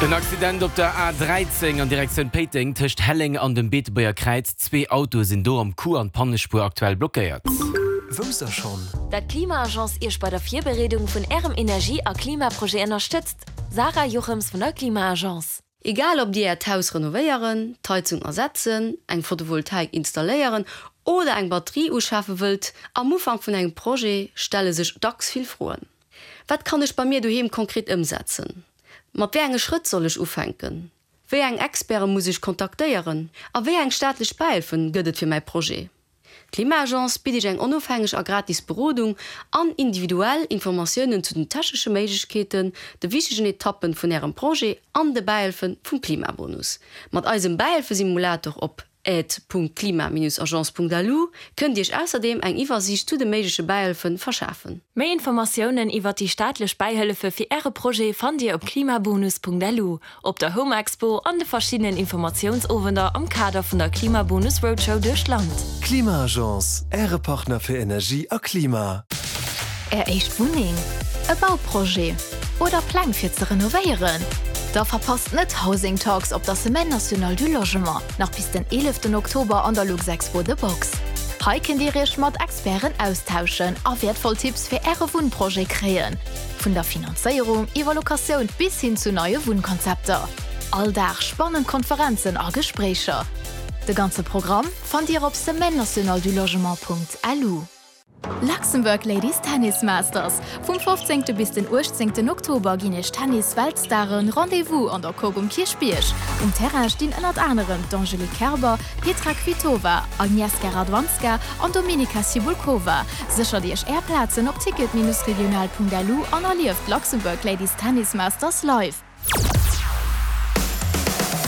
En Accident op der A 13 an Direktioun Péiteng tëscht Helleng an dem Beetebuerger Kräiz. Zwee Autoe sinn do am Coup an d'Pannespuer aktuell blockéiert. Wousst der schonn? Dat d'Klima-Agence Iech bei der Virbereedung vun Ärem Energie a Klimaprojet ënnerstëtzt? Sarah Jochems vun der Klima-Agence. Egal ob Dir Äert Haus renovéieren, d'Heizung ersetzen, eng Photovoltaik installéieren oder eng Batterie uschafe wëllt, am Ufank vun engem Projet stelle sech dacks vill Froen. Wat kann ech bei mir doheem konkret ëmsetzen? Mat wéi enge Schrëtt soll ech ufänken? Wéi eng Experte muss ech kontaktéieren? A wéi eng staatlech Bähëlfen gëtt et fir mäi Projet? D'Klima-Agence bitt Iech eng onofhängeg a gratis Berodung an individuell Informatiounen zu den technesche Méiglechkeeten, de wichtegen Etappen vun Ärem Projet an de Bähëlfe vum Klimabonus. Mat eisem Bähëlfesimulator op aide.klima-agence.lu kënnt Iech ausserdeem eng Iwwersiicht zu de méigleche Bäihëlfe verschafen. Méi Informatiounen iwwert déi staatlech Bäihëllefe fir Äre Projet fannt Dir op klimabonus.lu, op der Home Expo an de verschiddenen Informatiounsowender am Kader vun der Klimabonus Roadshow duerch d'Land. Klima-Agence, Äre Partner fir Energie a Klima. Är éischt Wunneng, e Bauprojet oder Pläng fir ze renovéieren? Da verpasst net Housing Talks op der Semaine Nationale du Logement, nach bis den 11 Oktober an der Luxexpo The Box. Hei kënnt Dir Iech mat Experten austauschen a wäertvoll Tipps fir Äre Wunnprojet kréien, vun der Finanzéierung iwwer Locatioun bis hin zu neie Wunnkonzepter. All Dag spannend Konferenzen a Gespréicher. De ganze Programm fannt Dir op semaine-nationale-du-logement.lu. Luxembourg Ladies Tennis Masters, Vum 15. Bis den 18. Oktober ginn iech Tennis-Weltstaren Rendez-vous an der Coque um Kierchbierg. Um Terrain stinn ënnert anerem d'Angelique Kerber, Petra Kvitova, Agnieszka Radwanska an Dominika Cibulkova. Séchert iech är Plazen op ticket-regional.lu an erlieft d'Luxembourg Ladies Tennis Masters live.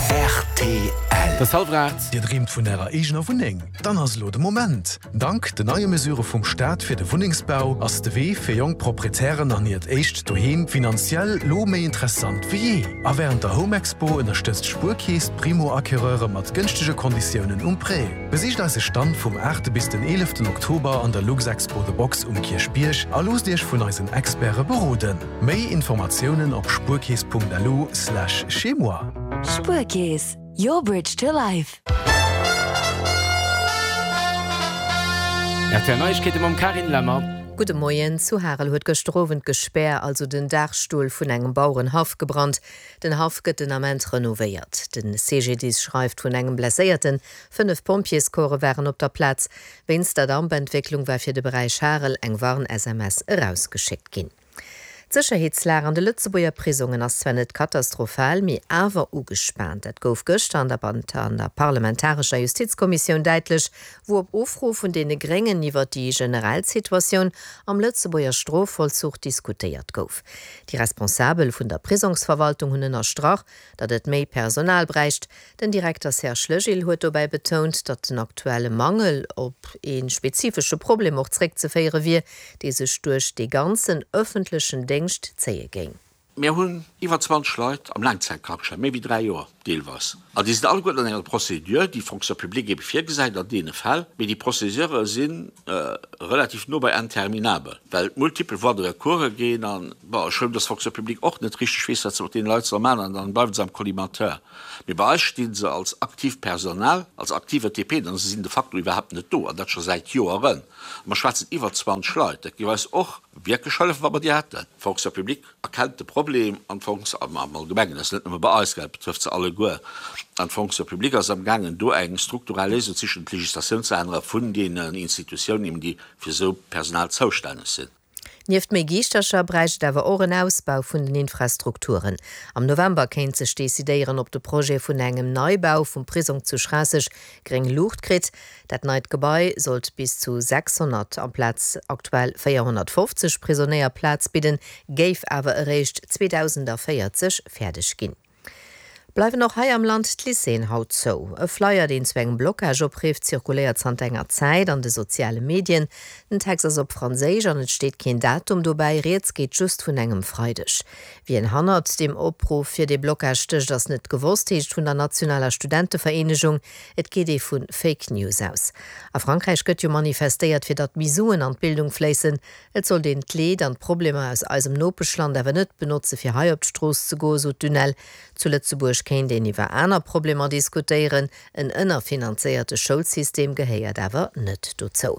Rtl. Et ass hallwer 8. Dir dreemt vun ärer eegener Wunneng? Dann ass elo de Moment! Dank den neie Mesure vum Staat fir de Wunnengsbau ass de Wee fir jonk Proprietären an hiert éischt Doheem finanziell lo méi interessant wéi jee. A wärend der Home Expo ënnerstëtzt d'Spuerkeess d'Primo-Acquéreure mat gënschtege Konditiounen um Prêt. Besicht eise Stand vum 8 bis den 11 Oktober an der Luxexpo The Box um Kierchbierg a loosst Iech vun eisen Experte beroden. Méi Informatiounen op spuerkeess.lu slash chez-moi. Spuerkeess, your bridge to life. Rtl Neiegkeete mam Carine Lemmer. Gudde Moien. Zu Harel huet gëschter Owend d'Gespär, also den Daachstull vun engem Bauerenhaff gebrannt. Den Haff gëtt den Ament renovéiert. De CGDIS schreift vun engem Blesséierten. 5 Pompjeescorpse waren op der Plaz. Wéinst der Dampentwécklung war fir de Beräich Harel eng Warn-SMS erausgeschéckt ginn. D'Sécherheetslag an de Lëtzebuerger Prisongen ass zwar net katastrophal, mee awer ugespaant. Dat gouf gëschter an der an der parlamentarescher Justizkommissioun däitlech, wou op Ufro vun deene Gréngen iwwer déi generell Situatioun am Lëtzebuerger Strofvollzuch diskutéiert gouf. Déi Responsabel vun der Prisongsverwaltung hunn ënnerstrach, datt et méi Personal bräicht. Den Direkter Serge Legil huet dobäi betount, datt den aktuelle Mangel op ee spezifesche Problem och zréckzeféiere wier, dee sech duerch dee ganzen ëffentlechen Déngscht zéie géing. Mir hunn iwwer 20 Leit am Laangzäitkrankeschäin, méi wéi 3 Joer deelweis. An déi sinn alleguerten an enger Procédure, déi d'Fonction publique ebe virgesäit an deene Fäll. Mee déi Procédurë si relativ no bei interminabel, well et multipel Voies de recours ginn. An, bon, ech hunn, dass d'Fonction publique och net richteg weess, wat se mat deene Leit soll maachen, an dann bleiwe se am Collimateur. Mee bei eis sti se als aktiivt Personal, als aktive TP, an se sinn de facto iwwerhaapt net do, an dat scho säit Joeren. A mer schwätzen iwwer 20 Leit. Dat géif eis och wierklech hëllefen, wa mer déi hätten. D'Fonction publique erkennt de Problem an d'Fonction, am Allgemengen, dat ass net nëmme bei eis, dat betrëfft se alleguer, an d'Fonction publique ass amgaangen, do eng strukturell Léisung ze sichen, d'Legislatioun ze ännere vun deenen Institutiounen, eben déi fir esou Personal zoustänneg sinn. Nieft méi Giischtercher bräicht et awer och en Ausbau vun den Infrastrukturen. Am November kéint sech decidéieren, ob de Projet vun engem Neibau vum Prisong zu Schraasseg gréng Luucht kritt. Dat neit Gebai sollt bis zu 600 amplaz aktuell 450 Prisonéier Plaz bidden, géif awer eréischt 2040 fäerdeg ginn. Bleiwen och hei am Land d'Lycéeën haut zou? E Flyer, deen zu engem Blocage oprifft, zirkuléiert zanter enger Zäit an de soziale Medien. Den Text ass op Franséisch an et steet keen Datum dobäi, rieds geet just vun engem Freideg. Wien hannert deem Opruff fir dee Blocage stécht, ass net gewosst, heescht vun der nationaler Studentevereenegung. Et geet ee vu Fake News aus. A Frankräich gëtt jo manifestéiert, fir datt méi Suen an d'Bildung fléissen. Et sollt een d'Leed an d'Problemer aus eisem Nopeschland awer net benotze fir hei op d'Strooss ze goen, sot d'UNEL. Zu Lëtzebuerg kéint een iwwer aner Problemer diskutéieren, en ënnerfinanzéierte Schoulsystem gehéiert awer net dozou.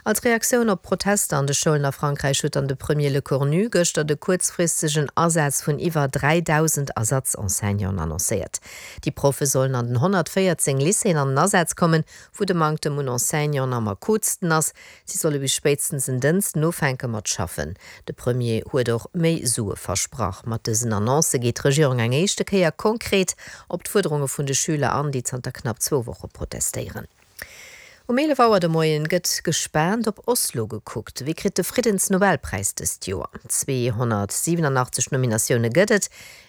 Als Reaktioun op d'Protester an de Schoulen a Frankräich huet dann de Premier Lecornu gëschter de kuerzfristegen Asaz vun iwwer 3.000 Ersatz-Enseignanten annoncéiert. Déi Proffe sollen an den 114 Lycéeën an den Asaz kommen, wou de Manktem un Enseignanten am akutsten ass. Si solle bis spéitstens en Dënsten ufänke mat schaffen. De Premier huet och méi Sue versprach. Mat dësen Annoncë geet d'Regierung eng éischte Kéier konkret op d'Fuerderunge vun de Schüler an, déi zanter knapp zwou Woche protestéieren. Um 11 Auer de Moien gëtt gespaant op Oslo gekuckt. Wie kritt de Friddensnobelpräis dëst Joer? 287 Nominatioune gëtt et.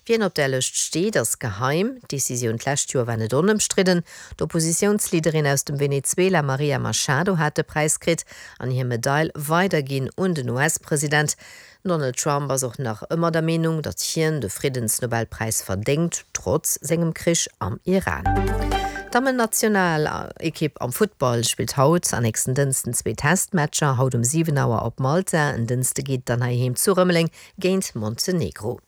Wien op där Lëscht steet, ass geheim. D'Decisioun d'lescht Joer war net onëmstridden. D'Oppositiounsleaderin aus dem Venezuela Maria Machado hat de Präis kritt an hir Medail weiderginn un den US-President. Den Donald Trump ass och nach ëmmer der Meenung, datt hien de Friddensnobelpräis verdéngt, trotz sengem Krich am Iran. D'Dammennationalekipp am Futtball spillt haut an nächsten Dënsten zwee Testmatcher. Haut um 7 Auer op Malta, en Dënste geet et dann heiheem zu Rëmeleng géint Montenegro.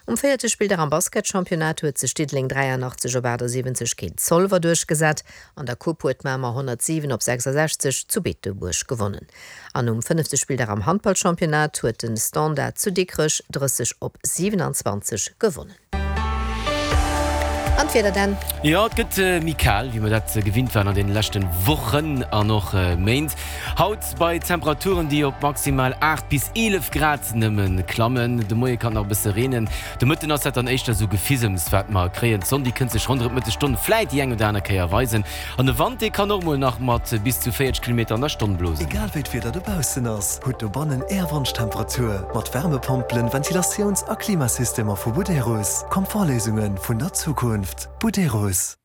Um véierte Spilldag am Basketchampionnat huet sech Diddeleng 83 op 78 géint Zolwer duerchgesat. An der Coupe huet Mamer 107 op 66 zu Beetebuerg gewonnen. An um fënnefte Spilldag am Handballchampionnat huet de Standard zu Dikrech 30 op 27 gewonnen. An d'Wieder dann? Jo, et gëtt méi kal, wéi mer dat gewinnt waren an deene leschte Wochen an och Méint. Haut bei Temperaturen, déi op maximal 8 bis 11 Grad nëmme klammen. De Moie kann nach e bësse reenen, de Mëtten ass dat dann éischter esou Gefisems, wat mer kréien. D'Sonn, déi kënnt sech ronderëm d'Mëttesstonn vläit déi eng oder aner Kéier weisen an de Wand, dee kann och mol nach mat bis zu 40 Kilometer an der Stonn blosen. Egal wéi d'Wieder dobaussen ass, hutt dobannen Är Wonschtemperatur mat Wärmepompelen, Ventilatiouns a Klimasystemer vu Buderus. Komfortléisunge vun der Zukunft. Buderus.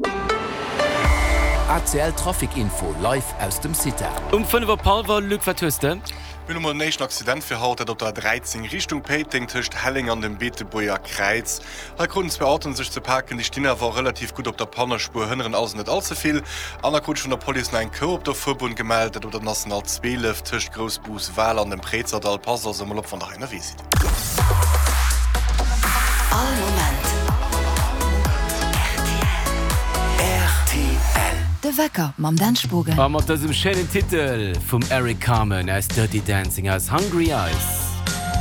ACL Trafic Info live aus dem CITA. Um 5 op hallwer, Luc, wat hues de? Mir hunn emol den éischten Accident fir haut, dat op der 13 Richtung Péiteng tëscht Helleng an dem Beetebuerger Kräiz. Hei kruten zwou Autoen sech ze paken, déi stinn awer relativ gutt op der Pannespuer, hënneren also net all ze vill. An da krut ech vun der Police nach eng Kou op der Fuerbunn gemellt, dat op der National 12 tëscht Groussbus-Wal an dem Préizerdall. Passt also emol op, wann der hei ënnerwee sidd. All Moment rtl. De Wecker mam Dan Spogen. A mat dësem schéinen Titel vum Eric Carmen aus Dirty Dancing aus Hungry Eyes.